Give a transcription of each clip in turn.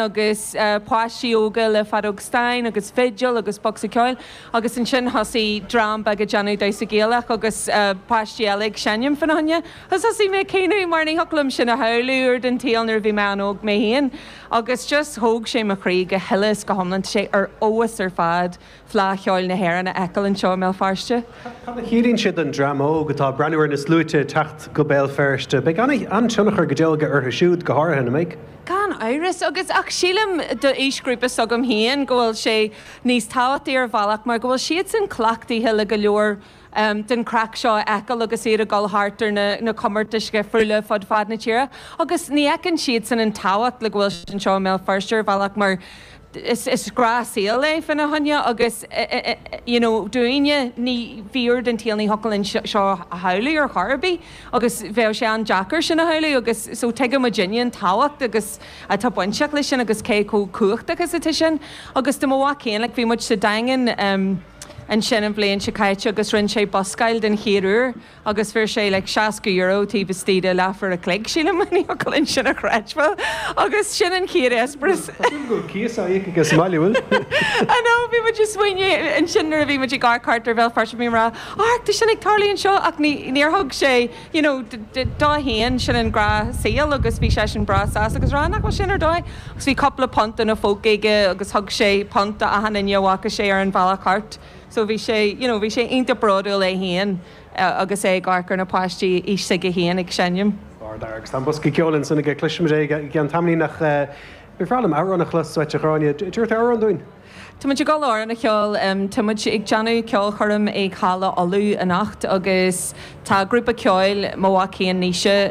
Agus páistí óga le feadóg stáin agus fidil agus bosca ceoil agus ansin thosaigh dream beag ag déanamh damhsa Gaelach agus páistí eile ag seinm fána choinne. Agus thosaigh mé ag caoineadh mar ní thiocfadh liom sin a shamhlú uair den tsaol nuair a bhí mé an-óg mé féin agus just thóg sé mo chroí go huile is go hiomlán. Tá sé ar fheabhas ar fad. Fleadh Cheoil na hÉireann a fheiceáil anseo i mBéal Feirste. Cad a chiallaíonn sé don dream óg atá ag breathnú ar na sluaite ag teacht go Béal Feirste? Beidh an-tionchar go deo aige orthu siúd, go háirithe, nach mbeidh? Gan amhras, agus ach sílim d'aoisghrúpa s'agam féin go bhfuil sé níos tábhachtaí ar bhealach mar go bhfuil siadsan cleachtaithe le go leor den chraic seo a fheiceáil agus iad ag dul thart ar na comórtais dhifriúla fud fad na tíre agus ní fheiceann siadsan an tábhacht le go bhfuil sé anseo i mBéal Feirste ar bhealach mar is gnáthshaol é fána choinne agus you know dúinne ní bhí uair den tsaol ní thiocfadh linn seo a shamhlú ar chor ar bith agus bheadh sé an-deacair sin a shamhlú agus so tuigeann muidinne an tábhacht agus atá bainteach leis sin agus cé chomh cumhachtach is atá sin agus do mo mhac féin like bhí muid sa Daingean ansin an bhliain seo caite agus rinne sé buscáil den chéad uair agus fuair sé like €60 taobh istigh de leathuair a chloig, sílim, ní thiocfadh linn sin a chreidbheáil agus sin an chéad eispéireas. Tá súil go bhfuil cíos á íoc aige sa mbaile, bhfuil? I know, bhí muid ag smaoineamh ansin nuair a bhí muid ag amharc thart ar Bhéal Feirste, bhí mé ag rá, amharc, tá sin ag tarlú anseo ach ní, níor thug sé, you know, dó féin, sin an gnáthshaol agus bhí seisean breá sásta agus rá nach bhfuil sin ar dóigh agus bhí cúpla punt ina phóca aige agus thug sé punt do achan duine a bhfaca sé ar an bhealach thart so bhí sé, you know, bhí sé iontach bródúil é féin agus é ag amharc ar na páistí aois s'aige féin ag seinm. Ardfhear agus tá an bosca ceoil ansan aige, cloisfimid é i gceann tamaillín ach ba bhreá liom amhrán a chlos uait a Ghráinne, tabharfaidh tú amhrán dúinn? Tá muid ag dul amhrán a cheol. Tá muid ag déanamh ceolchoirm ag Halla Uladh anocht agus tá grúpa ceoil, mo mhac féin Naoise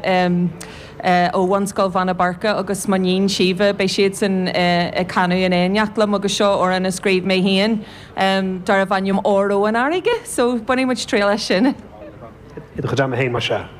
ó Bhunscoil Bheanna Boirche agus mo níon Síomha, beidh siadsan ag canadh in éineacht liom agus seo amhrán a scríobh mé féin darbh ainm Óró an Fharraige. So bainfidh muid triail as sin. I do chuid ama féin, más ea.